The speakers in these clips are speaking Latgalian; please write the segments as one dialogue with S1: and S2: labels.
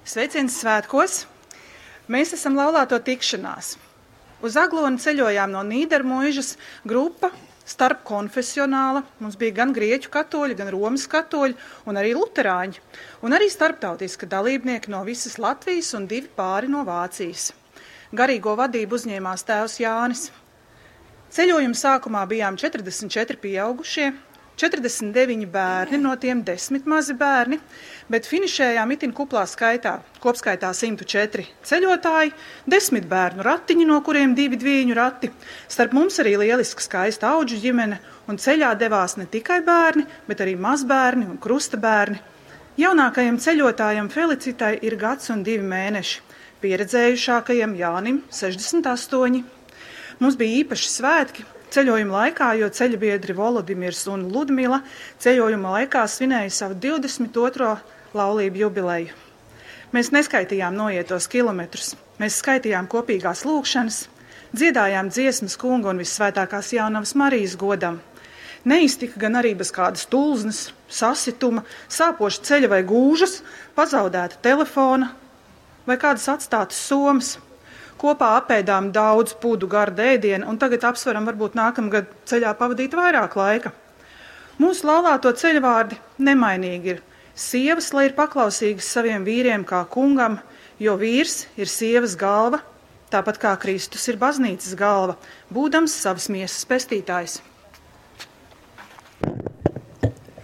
S1: Sveiciens svētkos! Mēs esam laulāto tikšanās. Uz Aglonu ceļojām no Nīdermuižas grupa starpkonfesionāla. Mums bija gan grieķu katoļi, gan Romas katoļi un arī luterāņi. Un arī starptautiska dalībnieki no visas Latvijas un divi pāri no Vācijas. Garīgo vadību uzņēmās tēvs Jānis. Ceļojuma sākumā bijām 44 pieaugušie, 49 bērni, no tiem 10 mazi bērni, bet finišējām itin kuplā skaitā, kopskaitā 104 ceļotāji, 10 bērnu ratiņi, no kuriem divi dvīņu rati. Starp mums arī lieliska skaista audžu ģimene, un ceļā devās ne tikai bērni, bet arī mazbērni un krusta bērni. Jaunākajam ceļotājam Felicitai ir gads un divi mēneši, pieredzējušākajam Jānim 68. Mums bija īpaši svētki ceļojuma laikā, jo ceļabiedri Volodimirs un Ludmila ceļojuma laikā svinēja savu 22. laulību jubileju. Mēs neskaitījām noietos kilometrus, mēs skaitījām kopīgās lūgšanas, dziedājām dziesmas kunga un vissvētākās jaunavas Marijas godam. Neiztika gan arī bez kādas tulznes, sasituma, sāpoša ceļa vai gūžas, pazaudēta telefona vai kādas atstātas somas. Kopā apēdām daudz pudu garda ēdiena, un tagad apsveram varbūt nākamgad ceļā pavadīt vairāk laika. Mūsu laulāto ceļvārdi nemainīgi ir: sievas, lai ir paklausīgas saviem vīriem kā kungam, jo vīrs ir sievas galva, tāpat kā Kristus ir baznīcas galva, būdams savas miesas pestītājs.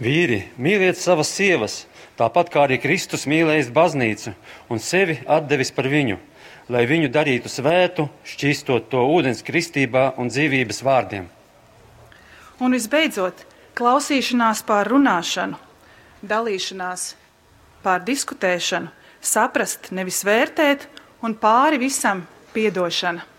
S2: Vīri, mīliet savas sievas, tāpat kā arī Kristus mīlējis baznīcu un sevi atdevis par viņu, lai viņu darītu svētu, šķīstot to ūdens kristībā un dzīvības vārdiem.
S1: Un visbeidzot, klausīšanās pār runāšanu, dalīšanās pār diskutēšanu, saprast, nevis vērtēt, un pāri visam piedošana.